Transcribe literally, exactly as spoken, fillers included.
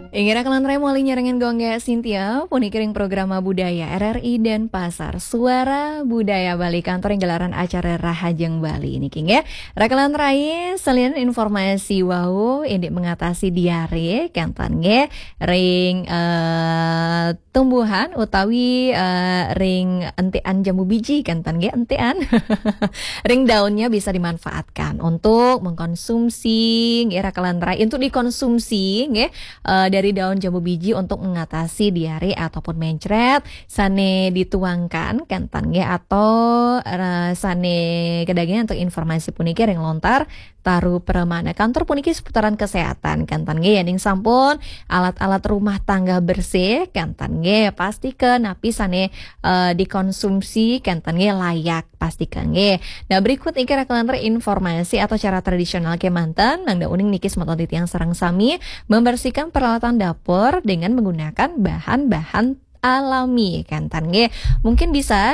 Inggih raka lan rai, malih nyarengin Gung Gék Cynthia, puniki ring programa Budaya R R I Denpasar, Suara Budaya Bali, kantor ring gelaran acara Rahajeng Bali niki nggih. Raka lan rai, salian informasi wau indik mengatasi diare, kénten nggih, ring, eh, tumbuhan utawi, eh, ring entikan jambu biji, kénten nggih, entikan. Ring daunnya bisa dimanfaatkan untuk mengkonsumsi, nggih, raka lan rai, untuk dikonsumsi, nggih, eh, dari daun jambu biji untuk mengatasi diare ataupun mencret, sané dituangkan, kénten nggih, atau, eh, sané kedaging untuk informasi puniki ring lontar Taru Pramana. Kantor puniki seputaran kesehatan, kénten nggih, yéning sampun alat-alat rumah tangga bersih, kénten nggih, pastika napi sané, eh, dikonsumsi, kénten nggih, layak, pastika nggih. Nah, berikut niki raka lan rai informasi atau cara tradisional kémanten, mangda uning niki semeton titiang sareng sami membersihkan peralatan dapur dengan menggunakan bahan-bahan alami, kénten nggih. Mungkin bisa